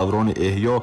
Даврони эҳё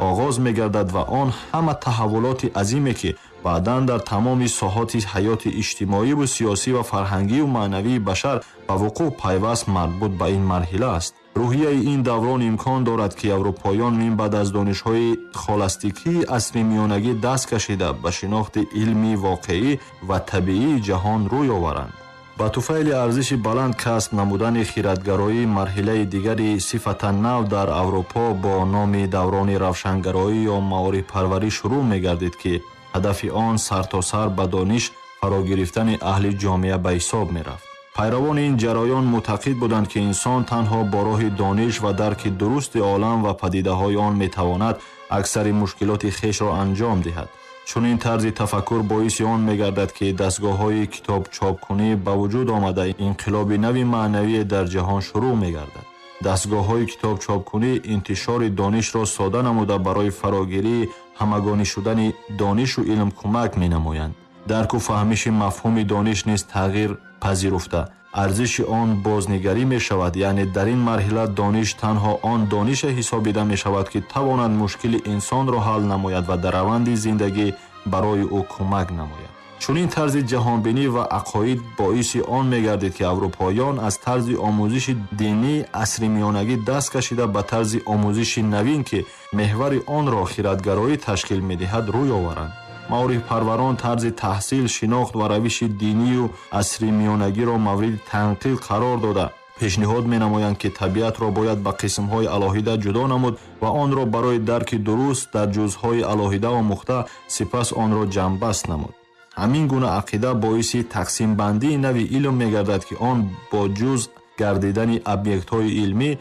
оғоз мегардад ва он ҳама таҳаввулоти азиме, ки баъдан дар тамоми соҳоти ҳаёти иҷтимоиву сиёсӣ ва фарҳангию маънавии башар ба вуқӯъ пайваст, марбут ба ин марҳила аст. Рӯҳияи ин даврон имкон дорад, ки аврупоён минбаъд аз донишҳои схоластикии асри миёнагӣ даст кашида, ба шинохти илми воқеӣ ва табиии ҷаҳон рӯй оваранд. Ба туфайли арзиши баланд касб намудани хиратгароӣ, марҳилаи дигари сифатан нав дар Аврупо бо номи даврони равшангароӣ ё маорифпарварӣ шурӯъ мегардид, ки ҳадафи он сартосар ба дониш фарогирифтани аҳли ҷомеа ба ҳисоб мерафт. Пайравони ин ҷараён мӯътақид буданд, ки инсон танҳо бо роҳи дониш ва дарки дурусти олам ва падидаҳои он метавонад аксари мушкилоти хешро анҷом диҳад. Чунин тарзи тафаккур боиси он мегардад, ки дастгоҳҳои китобчопкунӣ ба вуҷуд омада, инқилоби нави маънавие дар ҷаҳон шурӯъ мегардад. Дастгоҳҳои китобчопкунӣ интишори донишро сода намуда, барои фарогирии ҳамагонӣ шудани донишу илм кӯмак менамоянд. Дарку фаҳмиши мафҳуми дониш низ тағйир пазируфта, арзиши он бознигарӣ мешавад. Яъне дар ин марҳила дониш танҳо он донише ҳисобида мешавад, ки тавонад мушкили инсонро ҳал намояд ва дар раванди зиндагӣ барои ӯ кӯмак намояд. Чунин тарзи ҷаҳонбинӣ ва ақоид боиси он мегардид, ки аврупоён аз тарзи омӯзиши динии асри миёнагӣ даст кашида, ба тарзи омӯзиши навин, ки меҳвари онро хиратгароӣ ташкил медиҳад, рӯй оваранд. Маорифпарварон тарзи таҳсил, шинохт ва равиши динию асри миёнагиро мавриди танқид қарор дода, пешниҳод менамоянд, ки табиатро бояд ба қисмҳои алоҳида ҷудо намуд ва онро барои дарки дуруст дар ҷузъҳои алоҳида омӯхта, сипас онро ҷамъбаст намуд. Ҳамин гуна ақида боиси тақсимбандии нави илм мегардад, ки он бо ҷузъ гардидани объектҳои илмӣ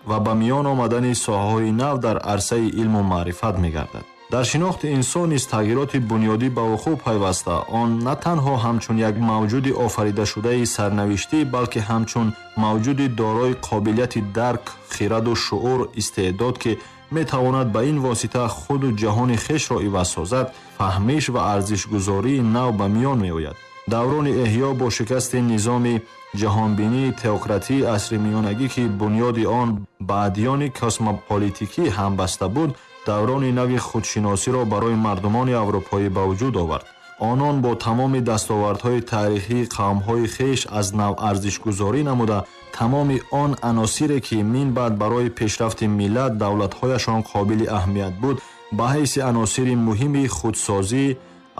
ва ба миён омадани соҳаҳои нав дар арсаи илму маърифат мегардад. Дар шинохти инсон низ тағйироти бунёдӣ ба вуқӯъ пайваста, он на танҳо ҳамчун як мавҷуди офаридашудаи сарнавиштӣ, балки ҳамчун мавҷуди дорои қобилияти дарк, хираду шуур, истеъдод, ки метавонад ба ин восита худу ҷаҳони хешро иваз созад, фаҳмиш ва арзишгузории нав ба миён меояд. Даврони эҳё бо шикасти низоми ҷаҳонбинии теократии асри миёнагӣ, ки бунёди он ба адёни космополитикӣ ҳамбаста буд, даврони нави худшиносиро барои мардумони аврупоӣ ба вуҷуд овард. Онон бо тамоми дастовардҳои таърихии қавмҳои хеш аз нав арзишгузорӣ намуда, тамоми он аносире, ки минбаъд барои пешрафти миллат давлатҳояшон қобили аҳамият буд, ба ҳайси аносири муҳими худсозӣ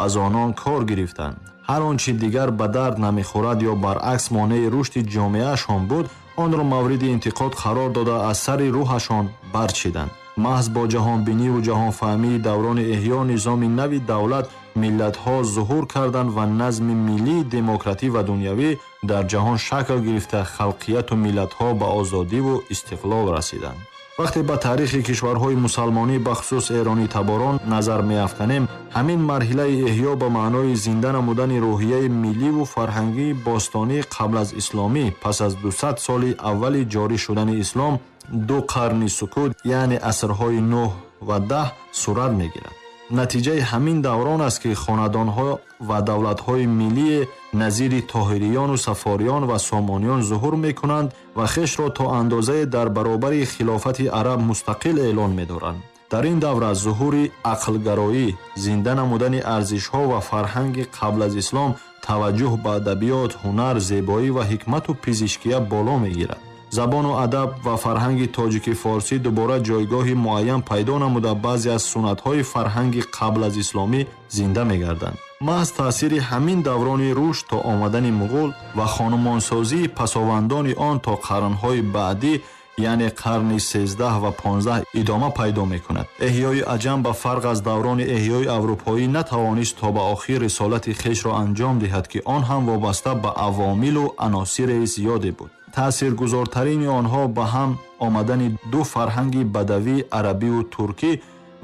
аз онон кор гирифтанд. Ҳар он чи дигар ба дард намехӯрад ё баръакс монеи рушди ҷомеаашон буд, онро мавриди интиқод қарор дода, аз сари рӯҳашон барчиданд. Маҳз бо ҷаҳонбиниву ҷаҳонфаҳмии даврони эҳё низоми нави давлат миллатҳо зуҳур карданд ва назми миллии демократӣ ва дунявӣ дар ҷаҳон шакл гирифта, халқияту миллатҳо ба озодиву истиқлол расиданд. Вақте ба таърихи кишварҳои мусалмонӣ, бахусус эронитаборон, назар меафканем, ҳамин марҳилаи эҳё ба маънои зинда намудани рӯҳияи милливу фарҳангии бостонӣ қабл аз исломӣ, пас аз 200 соли аввали ҷорӣ шудани ислом, 2 қарни сукут, яъне асрҳои 9 ва 10 сурат мегирад. Натиҷаи ҳамин даврон аст, ки хонадонҳо ва давлатҳои миллии назири тоҳириёну сафориён ва сомониён зуҳур мекунанд ва хешро то андозае дар баробари хилофати араб мустақил эълон медоранд. Дар ин давра зуҳури ақлгароӣ, зинда намудани арзишҳо ва фарҳанги қабл аз ислом, таваҷҷӯҳ ба адабиёт, ҳунар, зебоӣ ва ҳикмату пизишкия боло мегирад. Забону адаб ва фарҳанги тоҷики форсӣ дубора ҷойгоҳи муайян пайдо намуда, баъзе аз суннатҳои фарҳанги қабл аз исломӣ зинда мегарданд. Маҳз таъсири ҳамин даврони рушд то омадани муғул ва хонумонсозии пасовандони он то қарнҳои баъдӣ, яъне қарни 13 ва 15 идома пайдо мекунад. Эҳёи аҷам ба фарқ аз даврони эҳёи аврупоӣ натавонист то ба охир рисолати хешро анҷом диҳад, ки он ҳам вобаста ба авомилу аносири зиёде буд. Таъсиргузортарини онҳо ба ҳам омадани ду фарҳанги бадавӣ, арабиву туркӣ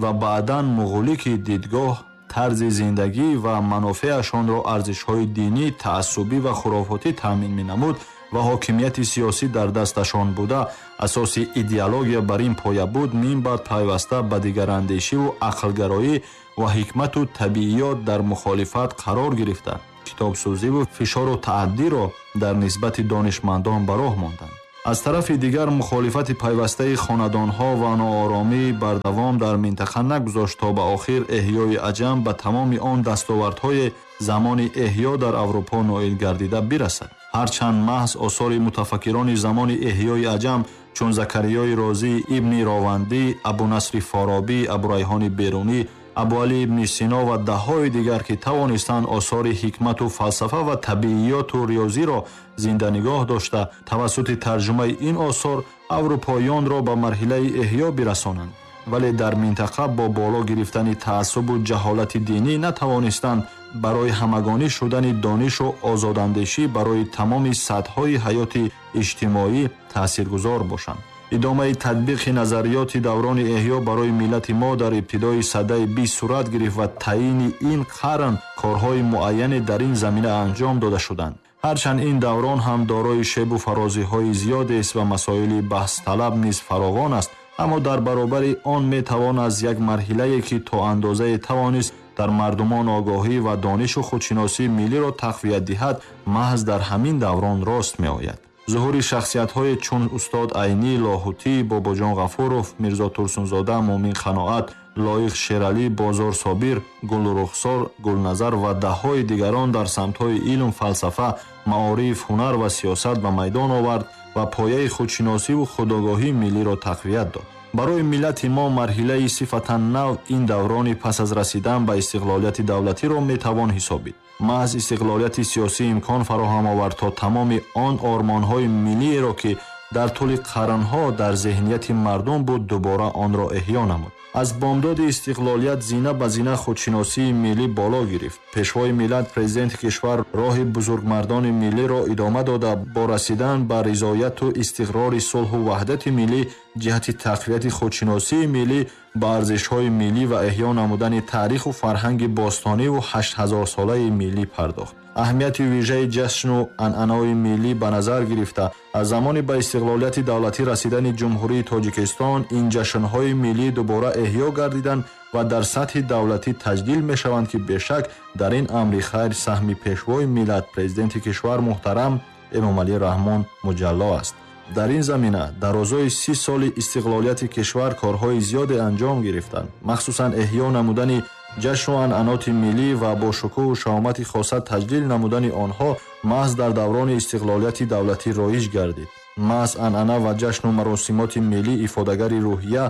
ва баъдан муғулӣ, ки дидгоҳ, тарзи зиндагӣ ва манофеашонро арзишҳои динӣ, таассубӣ ва хурофотӣ таъмин менамуд ва ҳокимияти сиёсӣ дар дасташон буда, асоси идеология бар ин поя буд, минбаъд пайваста ба дигарандешиву ақлгароӣ ва ҳикмату табииёт дар мухолифат қарор гирифта, китобсӯзиву фишору таъаддиро дар нисбати донишмандон ба роҳ монданд. Аз тарафи дигар мухолифати пайвастаи хонадонҳо ва нооромии бардавом дар минтақа нагузошт то ба охир эҳёи аҷам ба тамоми он дастовардҳои замони эҳё дар Аврупо ноил гардида бирасад. Ҳарчанд маҳз осори мутафаккирони замони эҳёи аҷам чун Закариёи Розӣ, Ибни Ровандӣ, Абунасри Форобӣ, Абурайҳони Берунӣ, Абуалӣ ибни Сино ва даҳҳои дигар ки тавонистанд осори ҳикмату фалсафа ва табииёту риёзиро зинда нигоҳ дошта, тавассути тарҷумаи ин осор аврупоёнро ба марҳилаи эҳё бирасонанд, вале дар минтақа бо боло гирифтани таассубу ҷаҳолати динӣ натавонистанд барои ҳамагонӣ шудани донишу озодандешӣ барои тамоми сатҳҳои ҳаёти иҷтимоӣ таъсиргузор бошанд. Идомаи татбиқи назариёти даврони эҳё барои миллати мо дар ибтидои садаи 20 сурат гирифт ва таъйини ин қарн корҳои муайяне дар ин замина анҷом дода шуданд. Ҳарчанд ин даврон ҳам дорои шебу фарозиҳои зиёдест ва масоили баҳсталаб низ фаровон аст, аммо дар баробари он метавон аз як марҳилае ки то андозае тавонист дар мардумон огоҳӣ ва донишу худшиносии миллиро тақвият диҳад, маҳз дар ҳамин даврон рост меояд. Зуҳури шахсиятҳое чун устод Айнӣ, Лоҳутӣ, Бобоҷон Ғафуров, Мирзо Турсунзода, Муъмин Қаноат, Лоиқ Шералӣ, Бозор Собир, Гулрухсор, Гулназар ва даҳҳои дигарон дар самтҳои илм, фалсафа, маориф, ҳунар ва сиёсат ба майдон овард ва пояи худшиносиву худогоҳии миллиро тақвият дод. Барои миллати мо марҳилаи сифатан нав ин даврони пас аз расидан ба истиқлолияти давлатиро метавон ҳисобид. Маҳз истиқлолияти сиёсӣ имкон фароҳам овард то тамоми он ормонҳои миллиеро ки дар тӯли қарнҳо дар зеҳнияти мардум буд, дубора онро эҳё намуд. Аз бомдоди истиқлолият зина ба зина худшиносии миллӣ боло гирифт. Пешвои миллат, президенти кишвар роҳи бузургмардони миллиро идома дода, бо расидан ба ризояту истиқрори сулҳу ваҳдати миллӣ ҷиҳати тақвияти худшиносии миллӣ ба арзишҳои миллӣ ва эҳё намудани таъриху фарҳанги бостониву 8000-солаи миллӣ пардохт. Аҳамияти вижаи ҷашну анъанаҳои миллӣ ба назар гирифта, аз замони ба истиқлолияти давлатӣ расидани Ҷумҳурии Тоҷикистон ин ҷашнҳои миллӣ дубора эҳё гардиданд ва дар сатҳи давлатӣ таҷлил мешаванд ки бешак дар ин амри хайр саҳми пешвои миллат, президенти кишвар муҳтарам Эмомалӣ Раҳмон муҷалло аст. Дар ин замина дарозои 30 соли истиқлолияти кишвар корҳои зиёде анҷом гирифтанд, махсусан эҳё намудани ҷашну анъаноти миллӣ ва бо шукӯҳу шаҳомати хоса таҷлил намудани онҳо маҳз дар даврони истиқлолияти давлатӣ роиҷ гардид. Маҳз анъана ва ҷашну маросимоти миллӣ ифодагари рӯҳия,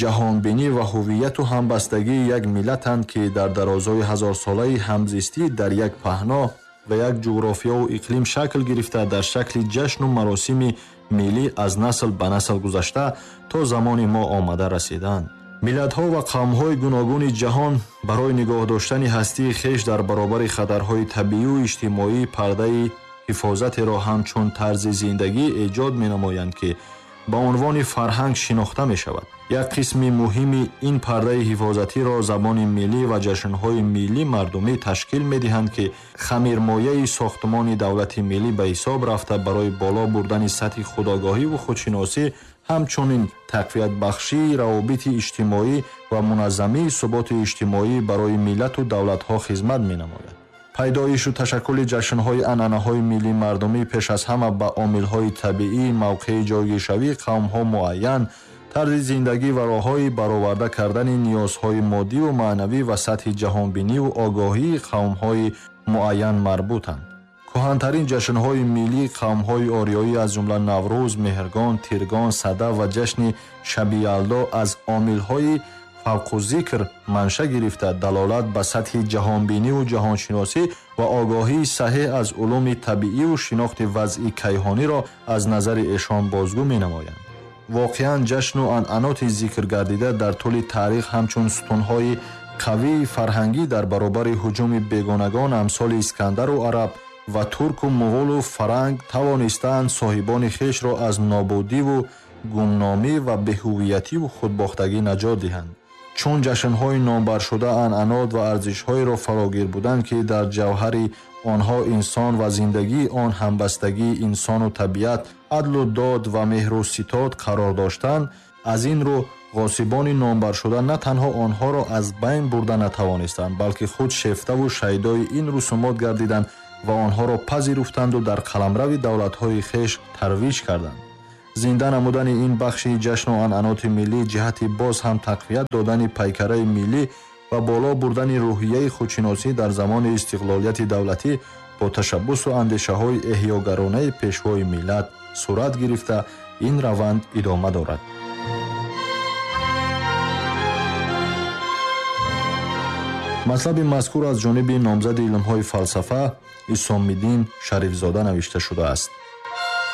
ҷаҳонбинӣ ва ҳувияту ҳамбастагии як миллатанд ки дар дарозои ҳазорсолаи ҳамзистӣ дар як паҳно ва як ҷуғрофиёву иқлим шакл гирифта, дар шакли ҷашну маросими миллӣ аз насл ба насл гузашта то замони мо омада расиданд. Миллатҳо ва қавмҳои гуногуни ҷаҳон барои нигоҳ доштани ҳастии хеш дар баробари хатарҳои табиию иҷтимоӣ пардаи ҳифозатеро ҳамчун тарзи зиндагӣ эҷод менамоянд ки ба унвони фарҳанг шинохта мешавад. Як қисми муҳими ин пардаи ҳифозатиро забони миллӣ ва ҷашнҳои миллӣ мардумӣ ташкил медиҳанд ки хамирмояи сохтмони давлати миллӣ ба ҳисоб рафта барои боло бурдани сатҳи худогоҳиву худшиносӣ, ҳамчунин тақвиятбахшии равобити иҷтимоӣ ва муназзамии суботи иҷтимоӣ барои миллату давлатҳо хизмат менамояд. Пайдоишу ташаккули ҷашнҳои анъанаҳои миллӣ мардумӣ пеш аз ҳама ба омилҳои табиӣ, мавқеи ҷойгиршавии қавмҳо муайян, тарзи зиндагӣ ва роҳҳои бароварда кардани ниёзҳои моддиву маънавӣ ва сатҳи ҷаҳонбиниву огоҳии қавмҳои муайян марбутанд. Кӯҳантарин ҷашнҳои миллии қавмҳои ориёӣ аз ҷумла Наврӯз, Меҳргон, Тиргон, Сада ва ҷашни Шаби Ялдо аз омилҳои фавқуззикр манша гирифта, далолат ба сатҳи ҷаҳонбиниву ҷаҳоншиносӣ ва огоҳии саҳеҳ аз улуми табииву шинохти вазъи кайҳониро аз назари эшон бозгӯ менамоянд. Воқеан ҷашну анъаноти зикр гардида дар тӯли таърих ҳамчун сутунҳои қавии фарҳангӣ дар баробари ҳуҷуми бегонагон амсоли Искандару араб ва турку муғулу фаранг тавонистаанд соҳибони хешро аз нобудиву гумномӣ ва беҳувиятиву худбохтагӣ наҷот диҳанд. Чун ҷашнҳои номбаршуда анъанот ва арзишҳоеро фарогир буданд ки дар ҷавҳари онҳо инсон ва зиндагии он, ҳамбастагии инсону табиат, адлу дод ва меҳру ситод қарор доштанд, аз ин рӯ ғосибони номбаршуда на танҳо онҳоро аз байн бурда натавонистанд, балки худ шефтаву шайдои ин русумот гардиданд ва онҳоро пазируфтанду дар қаламрави давлатҳои хеш тарвиҷ карданд. Зинда намудани ин бахши ҷашну анъаноти миллӣ ҷиҳати боз ҳам тақвият додани пайкараи миллӣ ва боло бурдани рӯҳияи худшиносӣ дар замони истиқлолияти давлатӣ бо ташаббусу андешаҳои эҳёгаронаи пешвои миллат сурат гирифта, ин раванд идома дорад. Матлаби мазкур аз ҷониби номзади илмҳои фалсафа Исомиддин Шарифзода навишта шудааст.